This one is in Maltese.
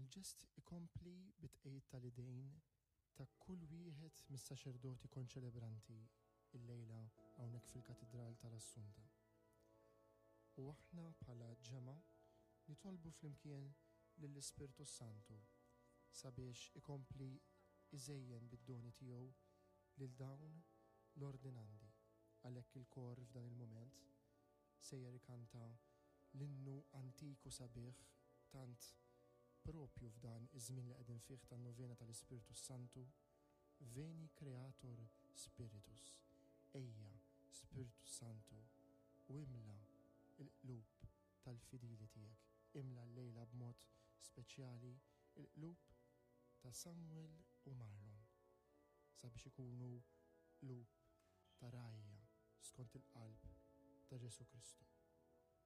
il-ġest ikompli bit-tqegħid tal-idejn ta' kull wieħed mis-saċerdoti konċelebranti illejla hawnhekk fil-Katidral tal-Assunta. U aħna bħala ġemgħa nitolbu flimkien lill-Ispirtu Santu sabiex ikompli iżejjen bid-doni tiegħu lil dawn l-ordinandi. Għalhekk il-kor f'dan il-mument sejjer ikanta l-innu antik u sabiħ tant propju f'dan iż-żmien li qegħdin fih tan-novena tal-Ispirtu Santu, Veni Creator Spiritus, Ejja Spirtu Santu u imla l-qlub tal-fidili tiegħek. Imla llejla b'mod speċjali l-qlub ta' Samuel u Marlon sabiex ikunu qlub ta' rgħajja skont il-qalb ta' Ġesù Kristu.